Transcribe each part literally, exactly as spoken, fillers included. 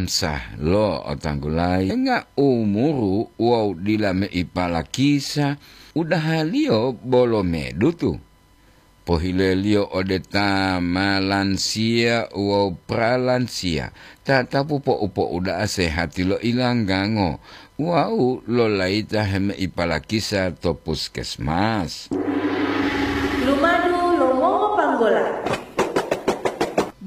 Sah lo otanggulayi, enga umuru wawu dila meipalakisa, udahaliyo bolo medutu. Pohileliyo ode ta ma lansiya wawu pralansiya, tatapu po'u-po'uda'a sehati lo ilanggango wawu lolayita hemeipalakisa to puskesmas. Lumadu lo mongopanggola.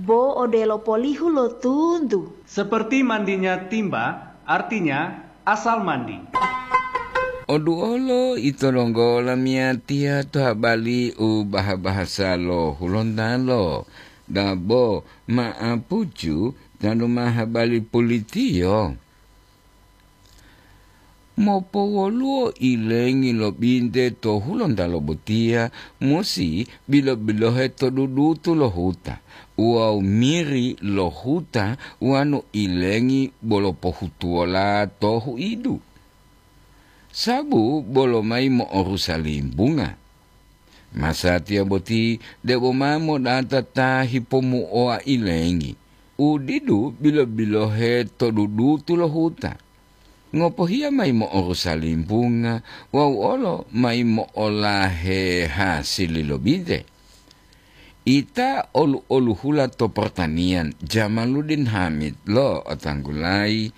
Bo odelo polihu lo tuntu. Seperti mandinya timba, artinya asal mandi. Oduolo ito donggo lamiyatiya to habali u baha-bahasa lo Hulontalo, dabo ma'apucu tanu ma habali pulitiyo. Mopowoluwo ilengi lo binte to Hulontalo botiya musi bilo-bilohe to dudutu lo huta, wawu miri lo huta wanu ilengi bolo pohutuwola to huidu. Sabu bolo mayi mo'orusa limbunga. Masatiya boti debo ma modata ta hipomuowa ilengi, u didu bilo-bilohe to dudutu lo huta. Ngopohiya mayi mo'orusa limbunga wawu olo mayi mo'olahe hasili lo binte. Ita olu-oluhula to portaniyan Jamaluddin Hamid lo otanggulayi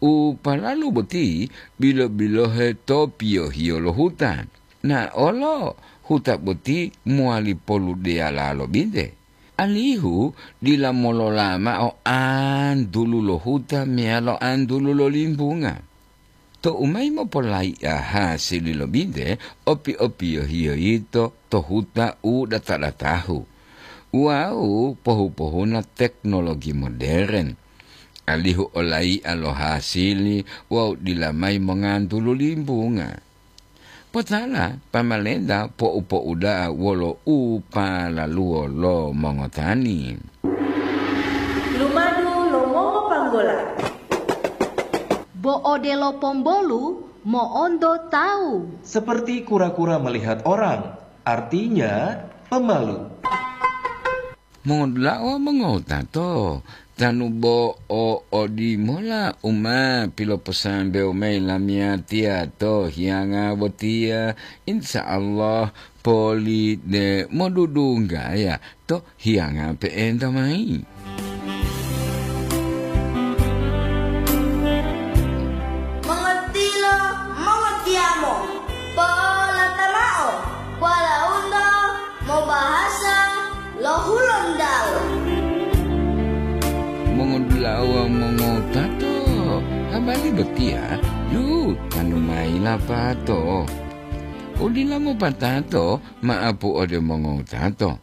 u palalu boti bilo-bilohe to piyohiyo lo huta. Na olo huta boti mowali poludeyala lo binte, alihu dila molola mao antulu lo huta meyalo antulu lo limbunga. Tou mayi mopolai'a hasili lo binte, opi-opiyohiyo yito to huta u data-datahu wawu pohu-pohuna teknologi moderen, alihu olai'a lo hasili wawu dila mayi mongantulu limbunga. Potala pamalenta po'u-po'uda'a wolo u palaluwo lo mongotani. Lumadu lo mongopanggola. Bo odelo pombolu mo'onto tawu. Seperti kura-kura melihat orang, artinya pemalu. Mongodula'a wawu mongowutato, tanu bo o odimola u ma piloposambewo mayi lamiyatiya to hiyanga botiya, insya Allah poli de modudunggaya to hiyanga pe'enta mayi. Mongotilo, mongotiyamo, polata mao, walaundo mobahasa lo Hulontalo. Mongodula'a wawu mongowutato, habari botiya yu tanu mayi lapato. Udila mopatato ma'apu ode mongowutato.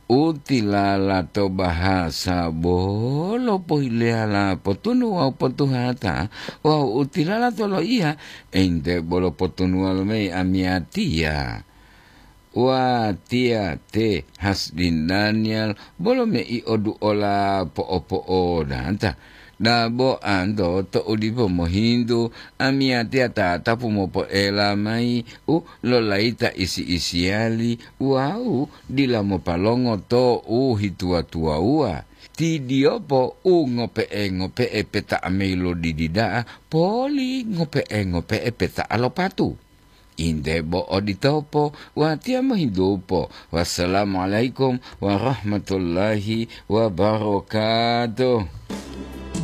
U tilala to bahasa bolo pohileyala potunu wawu potuhata, wawu u tilala to loiya ente bolo potunuwa lo mayi amiyatiya. Watiya te Hasdin Daniel bolo mei oduola po'opo'odata. Dabo anto to'u dipo mohintu, amiyatiya tatapu mopoela mayi u lolayita isi-isiyali wawu dila mopalongo to u hituwa-tuwawuwa. Tidiyopo u ngope'e-ngope'e peta'a mayi lo didi da'a poli ngope'e-ngope'e peta'a lo patu. Inde bo oditopo, watiya mohintupo. Wassalamualaikum warahmatullahi wabarakatuh.